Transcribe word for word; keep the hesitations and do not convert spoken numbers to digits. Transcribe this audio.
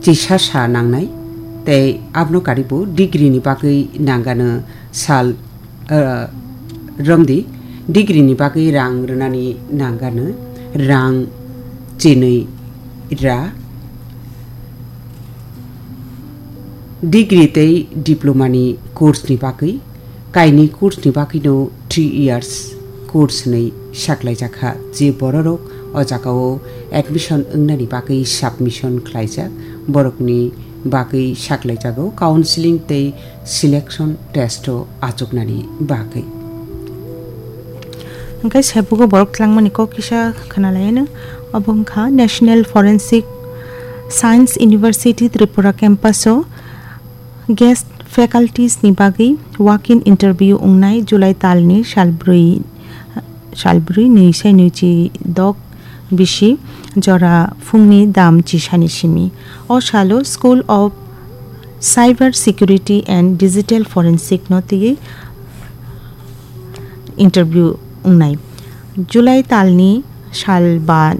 chisa sa nangnai, tei abono karibo degree ni bagwi nangano sal, eh, romdi, degree ni bagwi rang rwnani nangano rang chinwi ra. Degree tei diploma ni course ni bagwi, kaini course ni bagwino three years course hinwi saklaijakha. Je bororok o jagao admission wngnani bagwi submission khlaijak, borokni bagwi saklaijago counseling tei selection test o achuknani bagwi. Hwnkhe sebugo borok tlangmani kok kisa khwnalaino. Obo wngkha National Forensic Science University Tripura campus o guest faculties ni bagwi walk-in interview wngnai July talni salbrwi, salbrwi nwi sai nwi chi dok bisi jora phungni dam chisani simi. O salo School of Cyber Security and Digital Forensic no twiwi interview wngnai. July talni sal ba